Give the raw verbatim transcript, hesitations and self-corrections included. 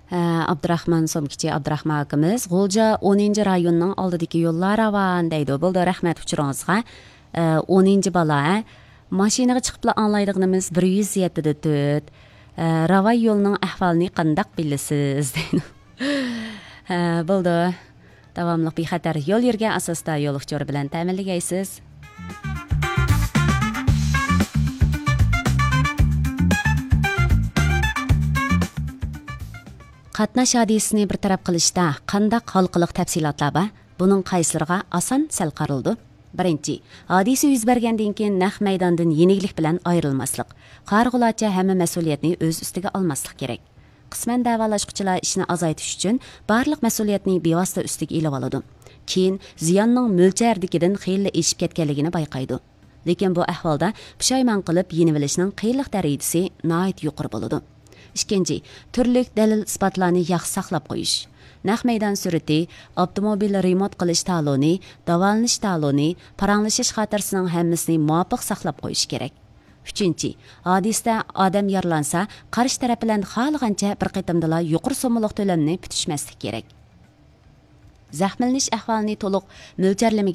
ھە، ئابدۇراخمان سومكىچى ئابدۇراخمان ئاكىمىز، غۇلجا ئونىنچى رايوننىڭ ئالدىدىكى يوللار راۋان دەيدۇ. بولدى، رەھمەت ئۇچۇرىڭىزغا. ئە، ئونىنچى بالا، ھە؟ ماشىنىغا چىقىپلا ئاڭلايدىغىنىمىز بىر يۈز يەتتىدە تۆت. ئە، راۋاي يولنىڭ ئەھۋالىنى قانداق بىلىسىز؟ دەيدۇ. ھە، بولدى. داۋاملىق بىخەتەر يول يۈرگەن ئاساستا يول ئۇچۇرى بىلەن تەمىنلىگەيسىز. قاتناش ھادىسىسىنى بىر تەرەپ قىلىشتا قانداق ھالقىلىق تەپسىلاتلار بار؟ بۇنىڭ قايسىلىرىغا ئاسان سەل قارىلىدۇ؟ بىرىنچى، ھادىسە يۈز بەرگەندىن كېيىن نەق مەيداندىن يېنىكلىك بىلەن ئايرىلماسلىق، قارىغۇلارچە ھەممە مەسئۇلىيەتنى ئۆز ئۈستىگە ئالماسلىق كېرەك. قىسمەن دەۋالاشقۇچىلار ئىشنى ئازايتىش ئۈچۈن بارلىق مەسئۇلىيەتنى بىۋاسىتە ئۈستىگە ئېلىۋالىدۇ. كېيىن زىياننىڭ مۆلچەردىكىدىن خېلىلا ئېشىپ كەتكەنلىكىنى بايقايدۇ. لېكىن بۇ ئەھۋالدا پۇشايمان قىلىپ يېنىۋېلىشنىڭ قىيىنلىق دەرىجىسى ناھايىتى يۇقىرى بولىدۇ. ئىككىنچى، تۈرلۈك دەلىل-ئىسپاتلارنى ياخشى ساقلاپ قويۇش. نەق مەيدان سۈرىتى، ئاپتوموبىل رېمونت قىلىش تالونى، داۋالىنىش تالونى، پاراڭلىشىش خاتىرىسىنىڭ ھەممىسىنى مۇۋاپىق ساقلاپ قويۇش كېرەك. ئۈچىنچى، ھادىسىدە ئادەم يارىلانسا، قارشى تەرەپ بىلەن خالىغانچە بىر قېتىمدىلا يۇقىرى سوممىلىق تۆلەمنى پۈتۈشمەسلىك كېرەك. زەخىملىنىش ئەھۋالىنى تولۇق مۆلچەرلىمىگەن